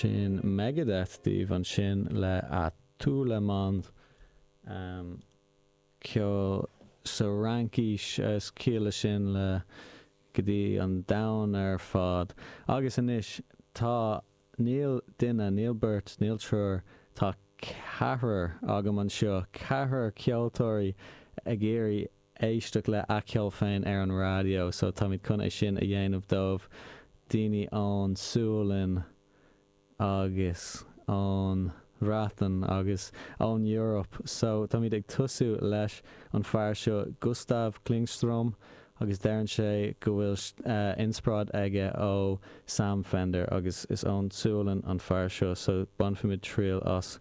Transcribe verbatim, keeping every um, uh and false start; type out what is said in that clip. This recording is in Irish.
Sin Megadeth daoibh ansin le À Tout Le Monde. Um, ceol sa Fhraincis is ciall leis sin le go dtí an domhan ar fad. Agus anois tá níl duine, níl beirt, níl triúr, tá ceathrar agam anseo, ceathrar ceoltóirí ag iarraidh éisteacht le A Cheol Féin ar an raidió, so táimid chun é sin a dhéanamh dóibh daoine ón Sualainn agus ón Bhreatain agus ón Europe. So táimid ag tosú leis an fear seo Gustav Klingström agus deireann sé go bhfuil uh, inspioráid aige ó Sam Fender agus is ón Sualainn an fear seo, so bainfimid triail as